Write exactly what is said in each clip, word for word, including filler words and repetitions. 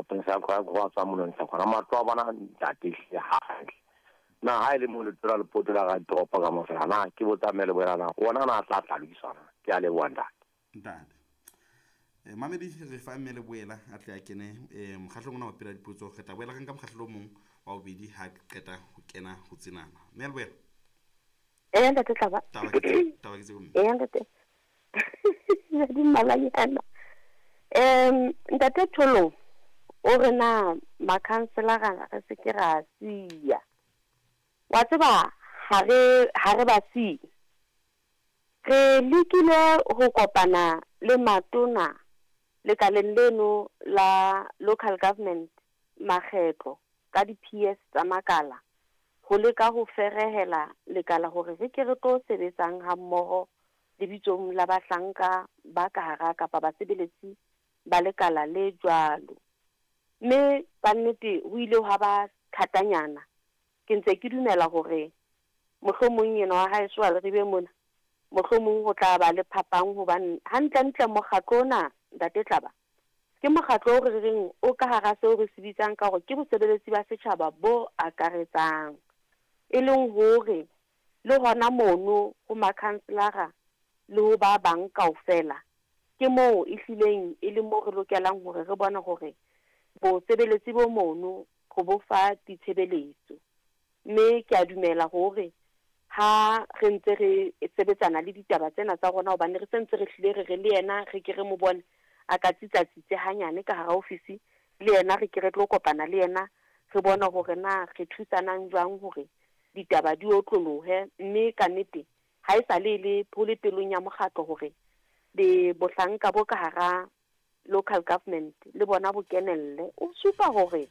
maponesa a go tswa monontsha gona matlo a bona ntate ehlile hantle. Na ha e le mo letona le potela ga toropo ka mofela na ke botsa mme le boela na ona na tla tla lokiswa na? Ke a leboha ntate. Ntate. Eh, mamedi re fa mme le boela a tle a kene eh mokgahlong ona wa pela dipotso, re tla boela re nka mokgahlo o mong wa bobedi ha qeta ho kena ho tsenana. Mme le boela. Eh ntate Tlaba. Taba ke tse, taba ke tse mme. Eh ntate. Ya di malanyana. Em ntate Tholo o re na makhanselara re se ke ra siya. Wa tseba ha re ha re ba siye. Re lekile ho kopana le matona lekaleng leno la local government makgetlo ka di-P S tsa makala ho leka ho ferehela lekala hore re ke re tlo sebetsang ha mmoho lebitsong la bahlanka ba ka hara kapa basebeletsi ba lekala le jwalo. Mme ka nnete ho ile ha ba thatanyana. Ke ntse ke dumela hore mohlomong yena wa haeso a le re be mona, mohlomong ho tla ba le phapang hobane hantlentle mokgatlo ona ntate Tlaba ke mokgatlo o re reng o ka hara seo re se bitsang ka hore ke bosebeletsi ba setjhaba bo akaretsang, e leng hore le hona mono ho makhanselara le ho ba bang kaofela ke moo e hlileng e le moo re lokelang hore re bone hore bosebeletsi bo mono ho bo fa ditshebeletso. Mme ke a dumela hore ha re ntse re sebetsana le ditaba tsena tsa rona, hobane re sentse re hlile re re le yena re ke re mo bone a ka tsitsatsitse hanyane ka hara ofisi, le yena re ke re tlo kopana le yena re bone hore na re thusanang jwang hore ditaba di otlolohe. Mme ka nnete ha e sa le le ho le pelong ya mokgatlo hore le bohlanka bo ka hara local government le bona bo kenelle. O supa hore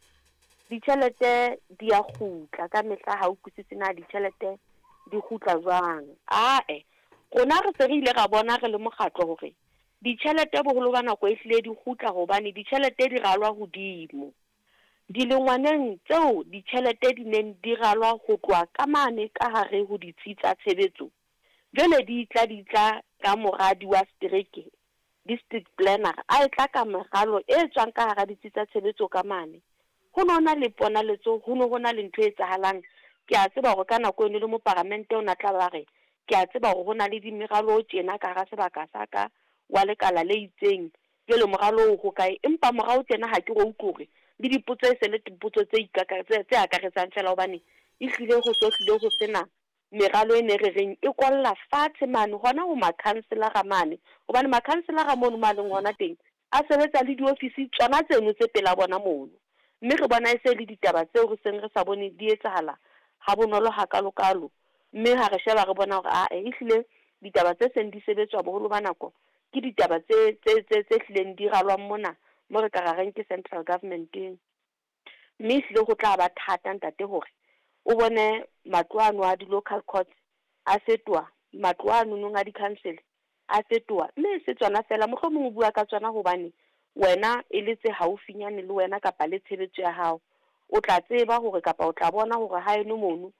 ditjhelete di a kgutla ka mehla, ha o utlwisise na ditjhelete di kgutla jwang. Ae, rona re se re ile ra bona re le mokgatlo hore ditjhelete boholo ba nako e hlile di kgutla hobane ditjhelete di ralwa hodimo. Dilengwaneng tseo ditjhelete di neng di ralwa ho tloha ka mane ka hare ho ditsi tsa tshebetso, jwale di tla di tla ka moradi wa setereke, district planner, a e tla ka meralo e tswang ka hara ditsi tsa tshebetso ka mane. Ho no na le ponaletso, ho no ho na le ntho e etsahalang. Ke a tseba hore ka nako eno le moparamente o na tla ba re, ke a tseba hore ho na le dimeralo tjena ka hara sebaka sa ka wa lekala le itseng, jwale moralo o ho kae? Empa morao tjena ha ke ro utlwe hore le dipotso e se le dipotso tse ikaka tse, tse akaretsang fela, hobane e hlile ho so hlile ho sena meralo e ne re reng e kwalla fatshe mane hona ho makhanselara mane, hobane makhanselara mono mo a leng hona teng a sebetsa le diofisi tsona tseno tse pela bona mono. Mme re bona e se le ditaba tseo re seng re sa bone di etsahala ha bonolo hakalokalo. Mme ha re sheba re bona hore ae ehlile ditaba tse seng di sebetswa boholo ba nako ke ditaba tse, tse, tse, tse hlileng di ralwang mona mo re ka ra reng ke central government-eng. Mme ehlile ho tla ba thata ntate hore o bone matlo ano a di-local courts a fetoha, matlo ano nong a di-council a fetoha. Mme e se tsona fela, mohlomong o bua ka tsona hobane wena e le tse haufinyane le wena kapa le tshebetso ya hao. O tla tseba hore kapa o tla bona hore haeno mono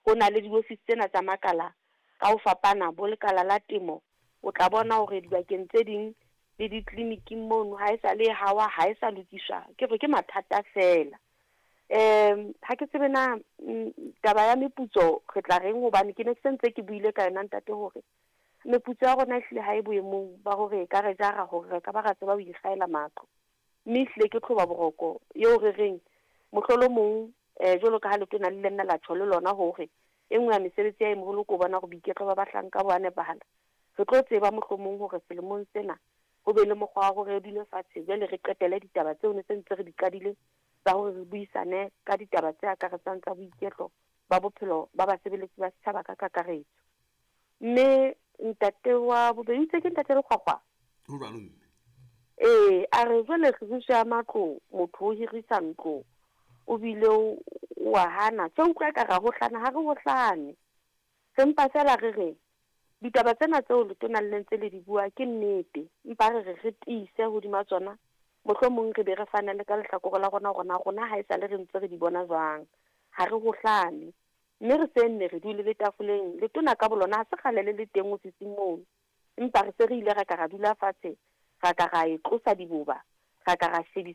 ho na le diofisi tsena tsa makala ka ho fapana, bo lekala la temo. O tla bona hore dibakeng tse ding le ditleliniking mono ha e sa le hawa, ha e sa lokiswa. Ke re ke mathata fela. Em ha ke tsebe na taba ya meputso re tla reng, hobane ke ne ke sentse ke buile ka yona ntate hore meputso ya rona ehlile ha e boemong ba hore e ka re jara hore re ka ba ra tseba ho ikgaela matlo. Mme ehlile ke tlhoba boroko eo re reng mohlolomong eh jwalo ka ha letona le nna la tjho le lona hore e nngwe ya mesebetsi ya e moholo ke ho bona hore boiketlo ba bahlanka bo a nepahala. Re tlo tseba mohlomong hore selemong sena ho be le mokgwa wa hore re dule fatshe jwale re qetele ditaba tseo ne se ntse re di qadile tsa hore re buisane ka ditaba tse akaretsang tsa boiketlo ba bophelo ba basebeletsi ba setjhaba ka kakaretso. Mme ntate wa bobedi itse ke ntate Lekgwakgwa. Ho jwalo mme. Ee, a re jwale kgiriso ya matlo, motho o hirisa ntlo o bile o a hana. Tje utlwa ka ra hohlana, ha re hohlane. Re mpa fela re re ditaba tsena tseo letona le ntse le di bua ke nnete, empa re re re tiise hodima tsona, mohlomong re be re fane le ka lehlakore la rona hore na rona ha esale re ntse re di bona jwang. Ha re hohlane. Mme re se nne re dule le tafoleng, letona ka bolona ha se kgale le le teng ofising mono, empa re se re ile ra ka ra dula fatshe, ra ka ra e tlosa diboba, ra ka ra shebisa